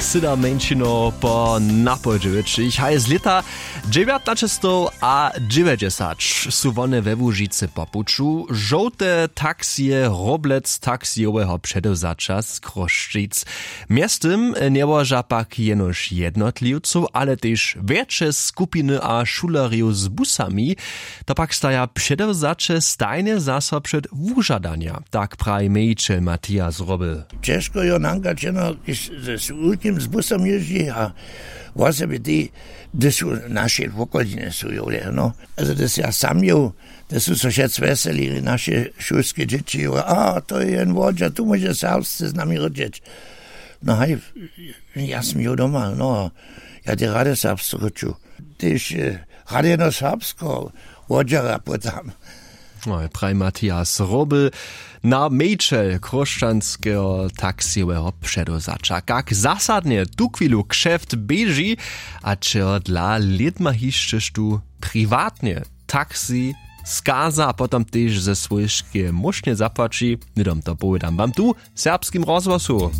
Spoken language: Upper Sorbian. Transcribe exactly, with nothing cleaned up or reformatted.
Syda mjeńšinow po napołdźewjećich haj z lěta dźewjatnaćestow a dźewjećdźesat su wone we łužicy po puću. Žołte taksije roblec taksijoweho předewzaća z chrósćic. Mjeztym njełoža pak jenož jednotliwcow ale tež wjetše skupiny a šulerjow z busami. To pak staja předewzaće stajnje zaso před wužadanja, tak praji mějićel matias roby. Ćežko jo nanka čeno, kiž z wulkim z busom jězdźi a wosebje tej, hdyž su naše wokolinje su jowle no, ale hdyž ja sam jow, hdyž su so wšec wjeseli naše šulske dźěći jow a to je jen wodźa tu móže serbsce z nami rěčeć. No haj, ja sym jow doma no, ja te rady serbsce rěču, tež rady jeno serbsce wodźera pótam. Praji matias roby, na mějićel chróšćanskeho taksijoweho předewzaća, kak zasadnje tuchwilu kšeft běži a čehodla lědma hišćež tu priwatnje taksi skaza a potom tež ze swójskeje móšnje zapłaći, hnydom to powědam wam tu w serbskim rozhłosu.